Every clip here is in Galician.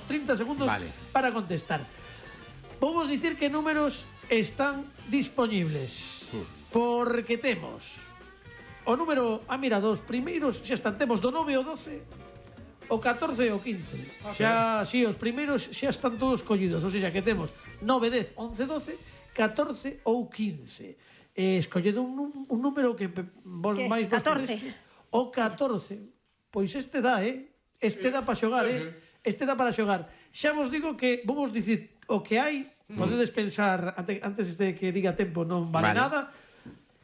30 segundos para contestar. Vamos dicir que números están dispoñibles, porque temos o número, mira, dos primeiros xa están, temos do 9 ao 12, o 14 e o 15. Xa, si, os primeiros xa están todos collidos, ou seja, que temos 9, 10, 11, 12, 14 ou 15. Escolledo un número que vos máis... 14. O 14. Pois este dá, este dá para xogar, este dá para xogar. Xa vos digo que vamos dicir o que hai, podedes pensar antes de que diga tempo non vale nada.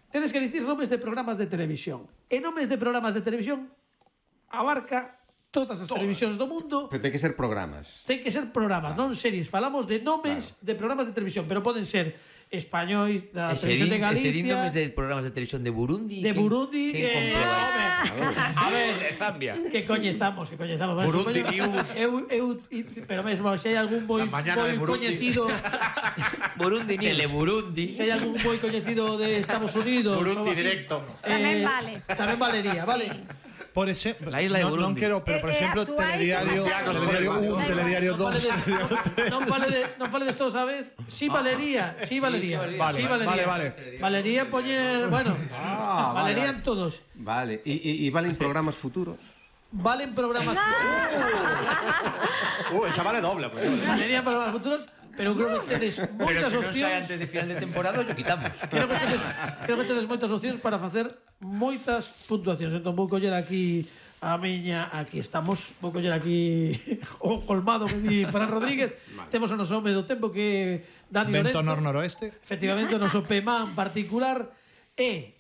Tedes que dicir nomes de programas de televisión. E nomes de programas de televisión abarca todas as televisións do mundo. Pero ten que ser programas. Ten que ser programas, non series. Falamos de nomes de programas de televisión, pero poden ser españois da televisión de Galicia. Ese nomes de programas de televisión de Burundi. De Burundi. A ver, de Zambia. Que coñezamos. Burundi News. Pero mesmo, se hai algún moi coñecido... Burundi News. Teleburundi. Se hai algún moi coñecido de Estados Unidos. Burundi Directo. Tamén vale. Tamén valería, vale? Por exemplo, la isla de Burundi. Non quero, pero por exemplo, Telediario 1, Telediario 2. Non faledes todos a vez. Si valería. Valería poñer, bueno, valerían todos. Vale, e valen programas futuros? Valen programas Esa vale doble. Valerían programas futuros. Pero creo que tedes moitas Pero se non sai opcións. antes de final de temporada, o quitamos. Creo que tedes moitas opcións para facer moitas puntuacións. Entón vou coller aquí a miña, aquí estamos, vou coller aquí o colmado que di Fran Rodríguez. Temos o noso home do tempo que Dani Lorenzo. Vento noroeste. Efectivamente, o noso PEMA en particular e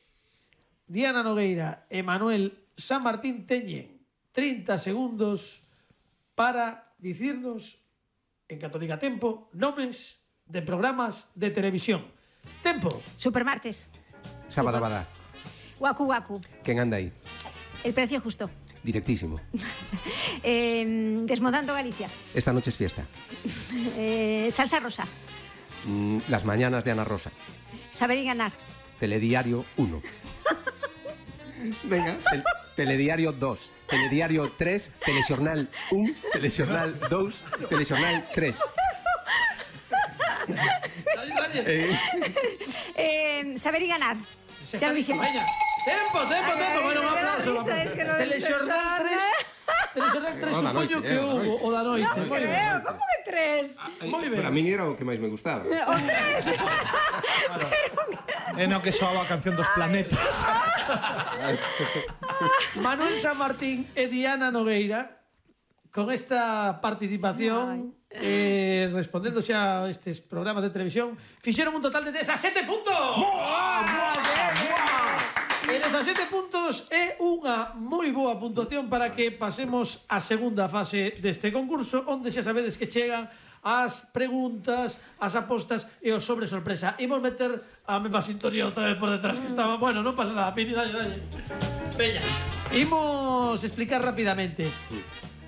Diana Nogueira e Manuel San Martín teñen 30 segundos para dicirnos, en canto diga tempo, nomes de programas de televisión. Tempo. Supermartes. Sabadabada. Waku Waku. Quen anda aí? El precio justo. Directísimo. Desmontando Galicia. Esta noche es fiesta. Salsa rosa. Las mañanas de Ana Rosa. Saber y ganar. Telediario 1. Venga. Telediario 2. Telediario 3. Telexornal 1. Telexornal 2. Telexornal 3. Saber y ganar. Ya lo dijimos. Tempo. Bueno, un aplauso. Telexornal 3. Telexornal 3 supoño que hubo o da noite. No creo, como que 3? Moi ben. Para min era o que máis me gustaba. O 3. É no que soaba a canción dos planetas. Manuel San Martín e Diana Nogueira con esta participación respondendo xa a estes programas de televisión fixeron un total de 17 puntos. E 17 puntos é unha moi boa puntuación para que pasemos a segunda fase deste concurso, onde xa sabedes que chegan as preguntas, as apostas e os sobre sorpresa. Imos meter a mesma sintonía outra vez por detrás que estaba. Bueno, non pasa nada, Pini, dalle. Veña, imos explicar rapidamente.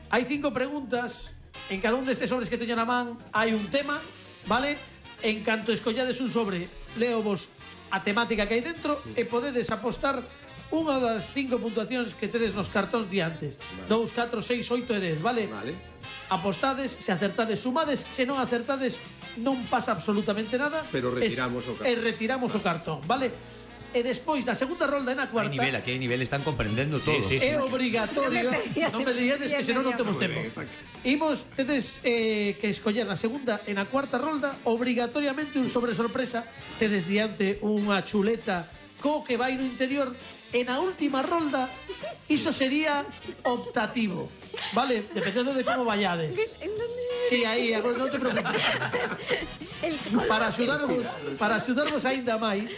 Hai 5 preguntas. En cada un destes sobres que teño na man hai un tema, vale? En canto escollades un sobre, leo vos a temática que hai dentro e podedes apostar unha das 5 puntuacións que tedes nos cartóns diantes. 2, 4, 6, 8 e 10, vale? Apostades, se acertades sumades, se non acertades non pasa absolutamente nada. Pero retiramos o cartón. E retiramos o cartón, vale? E despois da segunda rolda e na cuarta Aquí hai nivel, están comprendendo todo. é obrigatorio. Non me diades que senón non temos tempo. Imos, tedes que escoller na segunda e na cuarta rolda obrigatoriamente un sobre sorpresa. Tedes diante unha chuleta co que vai no interior. E na última rolda iso sería optativo, vale? Dependendo de como vayades. Sí, aí, agora non te preocupes. Para axudarvos aínda máis,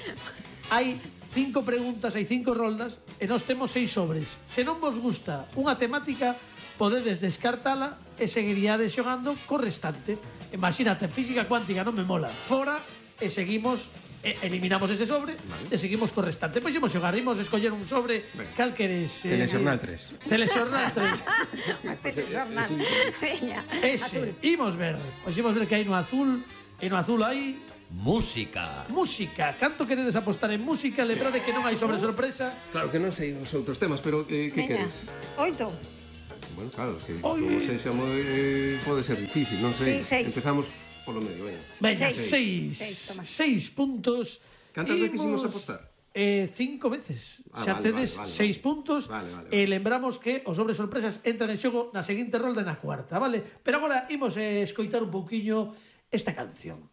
hai 5 preguntas, hai 5 roldas e nós temos 6 sobres. Se non vos gusta unha temática, podedes descartala e seguiríades xogando co restante. Imagínate, en física cuántica non me mola. Fora e seguimos, eliminamos ese sobre e seguimos co restante. Pois imos xogar, imos escoller un sobre. Cal queres? Telexornal 3. Telexornal 3. Telexornal. Veña. Ese, imos ver. Pois imos ver que hai no azul. E no azul hai música. Música. Canto queredes apostar en música? Lembrade que non hai sobre sorpresa. Claro que non sei os outros temas, pero que queres? 8. Bueno, claro, que Oi. como sexa pode ser difícil, non sei. Sí, 6. Empezamos polo medio, venga. Venga, Seis. 6. Toma. 6 puntos. Cantas veces imos apostar? 5 veces. Xa Vale, tedes vale, 6 puntos. Vale. E lembramos que os sobres sorpresas entran en xogo na seguinte rolda e na cuarta, vale? Pero agora imos escoitar un pouquiño esta canción.